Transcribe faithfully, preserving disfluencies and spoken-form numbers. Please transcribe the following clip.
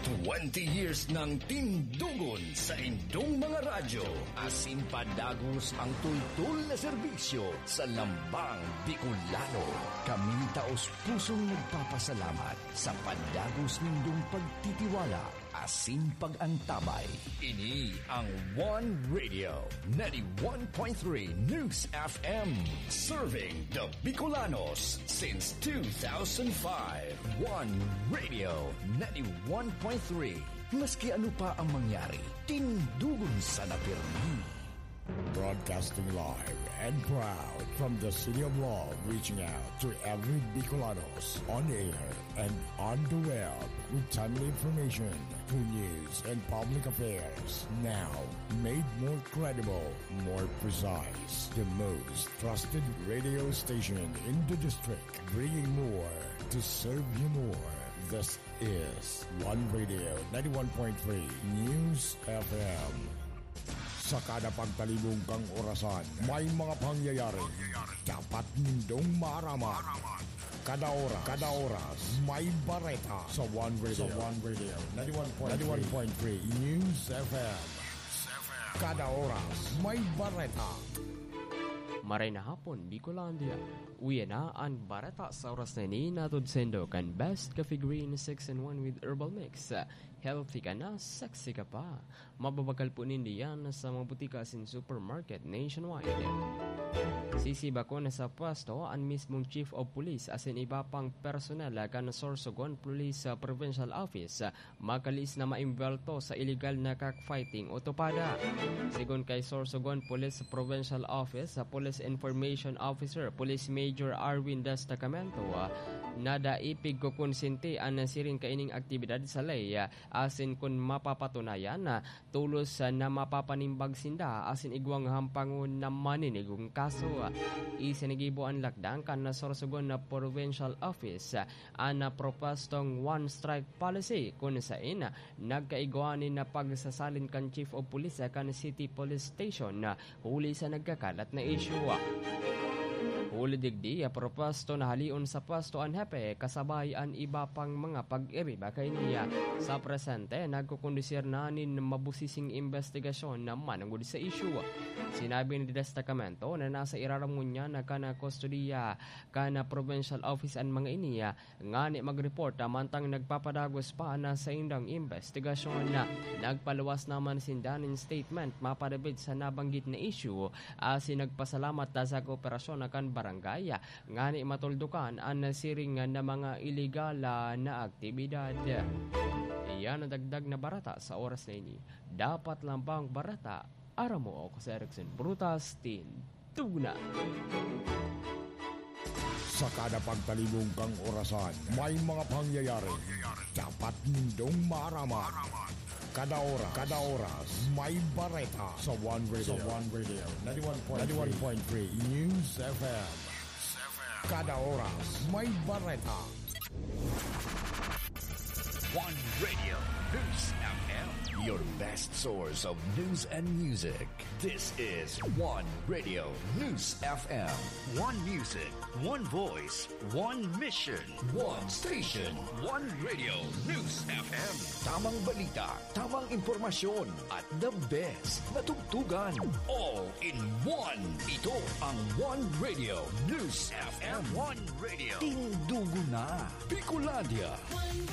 Twenty years nang tindugon sa indong mga radyo. Asin padagos ang tultol na serbisyo sa lambang Bicolano. Kami taos pusong nagpapasalamat sa padagos nindong pagtitiwala asin pag-antabay. Ini ang One Radio, ninety-one point three News F M. Serving the Bicolanos since two thousand five. One Radio, ninety-one point three. Maski ano pa ang mangyari, tindugon sana pirmi. Broadcasting live and proud from the City of Love, reaching out to every Bicolanos on air and on the web with timely information, good news, and public affairs. Now, made more credible, more precise, the most trusted radio station in the district, bringing more to serve you more. This is One Radio, ninety-one point three News F M. Sa kada pagtalibong kang orasan, may mga pangyayari dapat nindong maaraman. Kada oras, kada oras, may bareta sa One Radio. Sa One Radio, ninety-one point three News F M. Kada oras, may bareta. Maray na hapon, Bicolandia. Uya na an bareta sa oras na ini, hatod saindo kan Best Coffee Green six in one with Herbal Mix. Healthy ka na, sexy ka pa. Mababakal po nindo yan sa mga butika asin supermarket nationwide. Sisibakon na sa pwesto an mismong Chief of Police asin iba pang personnel kan Sorsogon Police Provincial Office, makalis na maimbwelto sa iligal na cockfighting o tupada. Sigon kay Sorsogon Police Provincial Office, Police Information Officer, Police Major Arwin Destacamento, nadaipig ko konsente an siring kaining aktibidad sa ley, asin kun mapapatunayan, tolos na mapapanimbag sinda asin igwang hampangon na maninigong kaso. Isinigibo an lakdang kan Sorsogon na Provincial Office, an propwestong one strike policy, kun saen nagkaigwa nin pagsasalin kan Chief of Police kan City Police Station huli sa nagkakalat na isyu. Huli digdi, propwesto na haleon sa pwesto an hepe kasabay an iba pang mga pag-iriba kaini. Sa presente, nagkukondusir na nin mabusising imbestigasyon na manongod sa isyu. Sinabi ni Destacamento na nasa irarom ngunyan kan kustodiya kan Provincial Office an mga ini, ngani mag-report, mantang nagpapadagos pa an saindang imbestigasyon. Nagpaluwas naman sinda nin statement mapadapit sa nabanggit na isyu, asin nagpasalamat sa kooperasyon kan barangay, ngani matuldukan an siring na mga iligal na aktibidad. Iyan an dagdag na bareta sa oras na ini. Dapat lambang bareta, aram mo ako si Erickson Brutas, Tindog na. Sa kada pagtalibong kang orasan, may mga pangyayari dapat nindong maaraman. Kada oras, kada oras, may bareta sa One Radio. Sa One Radio, ninety-one point three News F M. Kada oras, may bareta. One Radio News F M. Your best source of news and music. This is One Radio News F M. One music, one voice, one mission. One station. One Radio News F M. Tamang balita, tamang impormasyon, at the best na tugtugan. All in one. Ito ang One Radio News F M. One Radio. Tindugo na, Bicolandia. One Radio.